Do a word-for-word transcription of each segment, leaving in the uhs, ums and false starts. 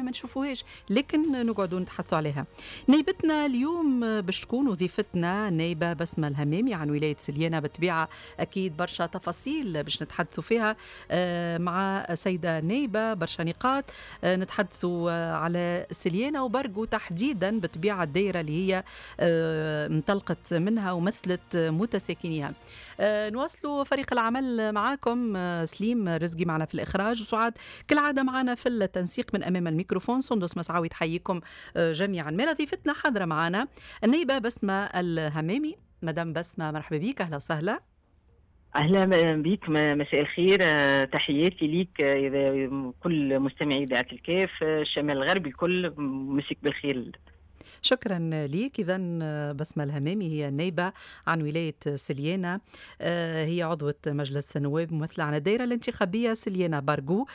ما نشوفوهاش، لكن نقعدوا نتحدثوا عليها. نايبتنا اليوم باش تكون وظيفتنا نايبة بسمة الهمامي عن ولاية سليانة، بالطبيعة أكيد برشا تفاصيل باش نتحدثوا فيها آه، مع سيدة نايبة، برشا نقاط آه، نتحدثوا على سليانة وبرقو تحديدا، بالطبيعة الدائرة اللي هي آه، انطلقت منها ومثلت متساكنيها. نواصلوا فريق العمل معاكم، سليم رزقي معنا في الإخراج، وسعاد كالعادة معنا في التنسيق من أمام الميكروفون، سندس مسعاوي تحييكم جميعا. ما ضيفتنا حاضرة معنا النايبة بسمة الهمامي. مدام بسمة، مرحبا بك، أهلا وسهلا. اهلا بك، مساء الخير، تحياتي ليك كل مستمعي اذاعة الكاف، الشمال الغربي الكل، مسيك بالخير. شكرا لك. إذا بسمة الهمامي هي النائبة عن ولاية سليانة، آه، هي عضوة مجلس النواب ممثلة عن الدائرة الانتخابية سليانة بارغو،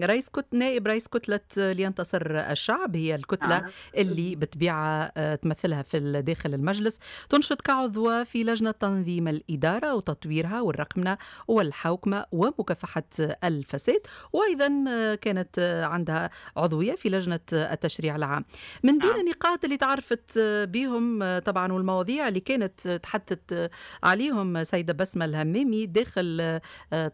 رئيس كت نائب رئيس كتلة لينتصر الشعب، هي الكتلة آه. اللي بطبيعة آه، تمثلها في داخل المجلس. تنشط كعضوة في لجنة تنظيم الإدارة وتطويرها والرقمنة والحوكمة ومكافحة الفساد، وأيضا كانت عندها عضوية في لجنة التشريع العام. من بين النقاط اللي تعرفت بهم طبعا والمواضيع اللي كانت تحدثت عليهم سيدة بسمة الهمامي داخل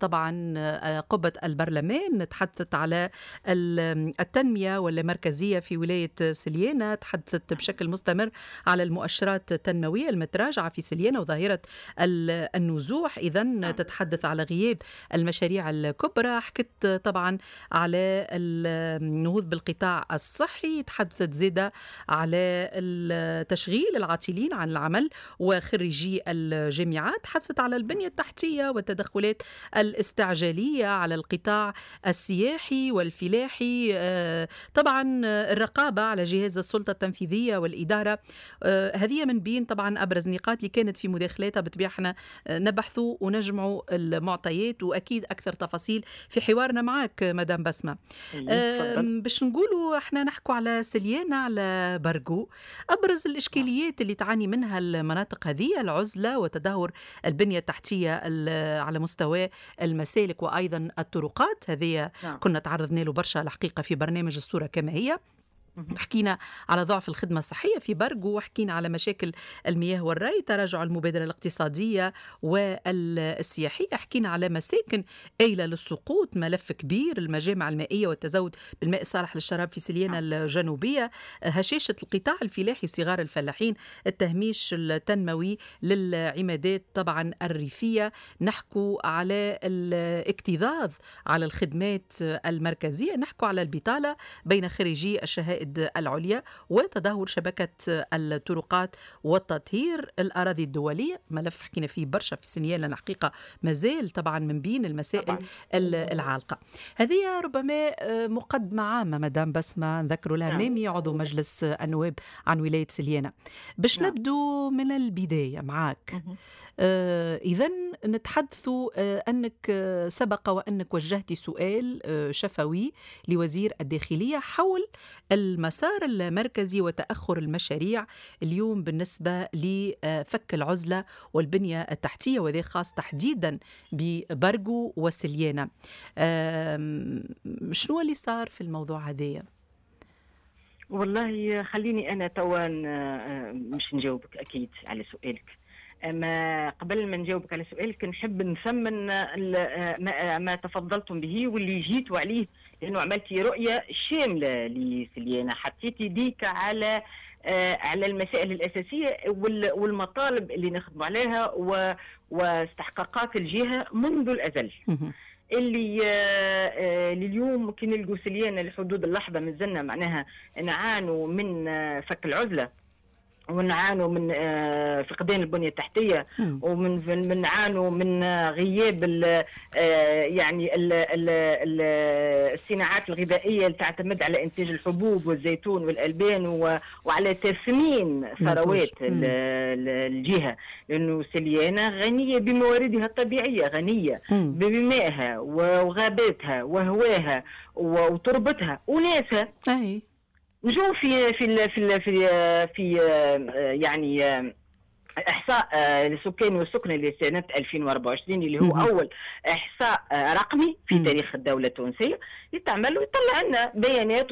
طبعا قبة البرلمان، تحدثت على التنمية والمركزية في ولاية سليانة، تحدثت بشكل مستمر على المؤشرات التنموية المتراجعة في سليانة وظاهرة النزوح. إذا تتحدث على غياب المشاريع الكبرى، حكت طبعا على النهوض بالقطاع الصحي، تحدثت زادة على تشغيل العاطلين عن العمل وخريجي الجامعات، حثت على البنية التحتية والتدخلات الاستعجالية على القطاع السياحي والفلاحي، آه، طبعا الرقابة على جهاز السلطة التنفيذية والإدارة. آه، هذه من بين طبعا أبرز النقاط اللي كانت في مداخلاتها. بالطبيعة احنا نبحثوا ونجمعوا المعطيات وأكيد أكثر تفاصيل في حوارنا معك مدام بسمة. باش نقولوا احنا نحكوا على سليانة، على برقو، أبرز الإشكاليات اللي تعاني منها المناطق هذه العزلة وتدهور البنية التحتية على مستوى المسالك وأيضا الطرقات. هذه نعم. كنا تعرضنا له برشا الحقيقة في برنامج الصورة كما هي. حكينا على ضعف الخدمة الصحية في برقو، وحكينا على مشاكل المياه والري، تراجع المبادرة الاقتصادية والسياحية، حكينا على مساكن آيلة للسقوط، ملف كبير، المجامع المائية والتزود بالماء الصالح للشراب في سليانة الجنوبية، هشاشة القطاع الفلاحي وصغار الفلاحين، التهميش التنموي للعمادات طبعا الريفية، نحكوا على الاكتظاظ على الخدمات المركزية، نحكوا على البطالة بين خريجي الشهائد العليا وتدهور شبكة الطرقات والتطهير الأراضي الدولية، ملف حكينا فيه برشا في سنيال الحقيقة مازال طبعا من بين المسائل طبعا العالقة. هذه ربما مقدمة عامة مدام بسمة، نذكر الهمامي نعم. عضو مجلس النواب عن ولاية سليانة. باش نعم. نبدو من البداية معاك، آه إذا نتحدث آه أنك سبق وأنك وجهت سؤال آه شفوي لوزير الداخلية حول المسار المركزي وتأخر المشاريع اليوم بالنسبة لفك العزلة والبنية التحتية، وذا خاص تحديدا ببرقو وسليانة. شنو اللي صار في الموضوع هذايا؟ والله خليني أنا توا مش نجاوبك أكيد على سؤالك، اما قبل ما نجاوبك على سؤالك نحب نثمن ما, ما تفضلتم به واللي جيتوا عليه، لانه عملتي رؤية شاملة لسليانه، حطيتي ديك على على المسائل الاساسية والمطالب اللي نخدموا عليها واستحقاقات الجهة منذ الازل. اللي لليوم كي نلقوا سليانه لحدود اللحظة مازلنا معناها نعانوا من فك العزلة ونعانوا من فقدان البنية التحتية، ومن من نعانوا من غياب ال يعني ال ال الصناعات الغذائية اللي تعتمد على انتاج الحبوب والزيتون والالبان وعلى تثمين ثروات الجهة، لانه سليانه غنية بمواردها الطبيعية، غنية بمائها وغاباتها وهواها وتربتها وناسها. أي. نجو في في في في في يعني احصاء للسكان والسكنى لسنه ألفين وأربعة وعشرين اللي هو اول احصاء رقمي في تاريخ الدولة التونسية، يتعمل ويطلع لنا بيانات.